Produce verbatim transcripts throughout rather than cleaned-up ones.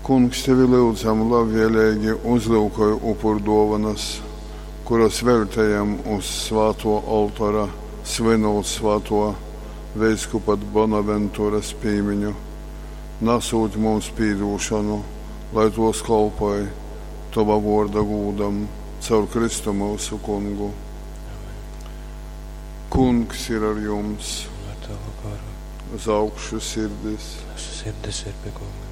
Kungs, tevi lyudzam, labvēleigi uzlyukoj upurduovanas, kuras veļtejam uz svātuo oltora, svynūt svātuo veiskupa Bonaventuras pīmiņu, nasūt mums pīdūšonu, lai tuos kolpoj tova vuorda gūdam caur Kristu myusu Kungu. Amen. Kungs ir ar jums, Un ar tavu garu. uz augšu sirdis. Mūsu sirdis ir pie Kunga.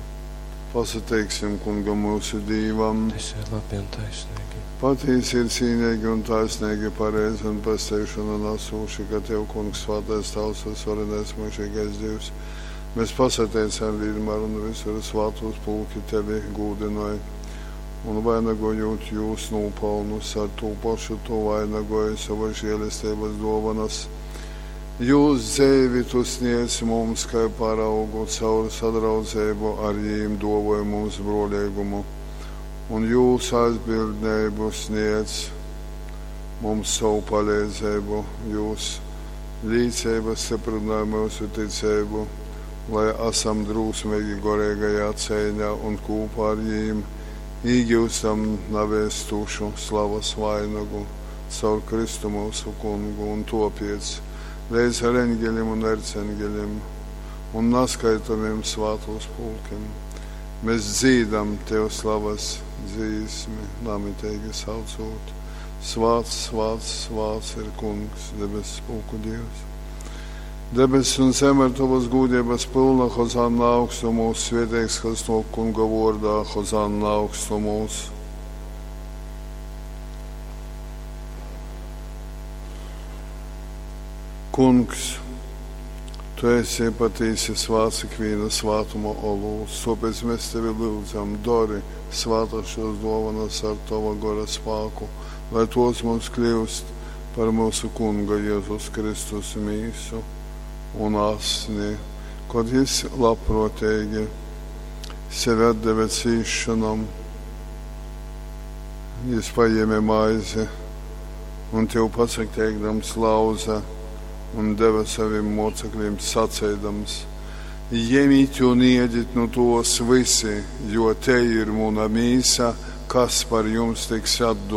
Pasateiksim Kungam myusu Dīvam. Tas ir labi un taisnīgi. Patīsi ir cīnīgi un taisnīgi, pareizi un pestīšanu nesoši, ka Tev, Kungs, svētais Tavs, visvarenais mūžīgais Dievs, mēs pasateicam vienmēr un visur svātos pulki Tevi gūdinoja un vainagojot jūs nopelnus, ar to pašu tu vainagoji savas žēlestības dovanas. Jūs dzeivi tu sniedz mums, kā paraugu, caur sadraudzību ar jīm duovoja mums brolīgumu, un jūs aizbildnību sniedz mums savu palīdzību, jūs līdzība stiprināja mūsu ticību, lai esam drūsmīgi gorīgajā cīņā un kopā ar jīm īgūstam navēstušu slavas vainagu caur Kristu mūsu kungu un topiec līdz ar eņģeļiem un erceņģeļiem un naskaitomiem svātos pulkiem. Mēs dzīdam Tev slavas dzīsmi, namitīgi saucot. Svāts, svāts, svāts ir Kungs, debesu pulku Dievs. Debesis un zeme ir tavas gūdības pilna, Hozanna augstumos, svētīgs, kas no Kunga vordā, Hozanna augstumos. Kungs, tu esi patīsi svāts ikviena svātuma olūts, tāpēc mēs tevi lūdzam, dori svātas šos dovanas ar tava gora spāku, lai tos mums kļūst par mūsu Kunga Jēzus Kristus mīsu un asni, kad jis labprātīgi sevi atdeva cīšanam, jis paņēma maizi un tev pasateikdams lauza un deva saviem mocekļiem sacēdams: Ņemiet un ēdiet no tos visi, jo te ir mana mīsa, kas par jums tiks atdota.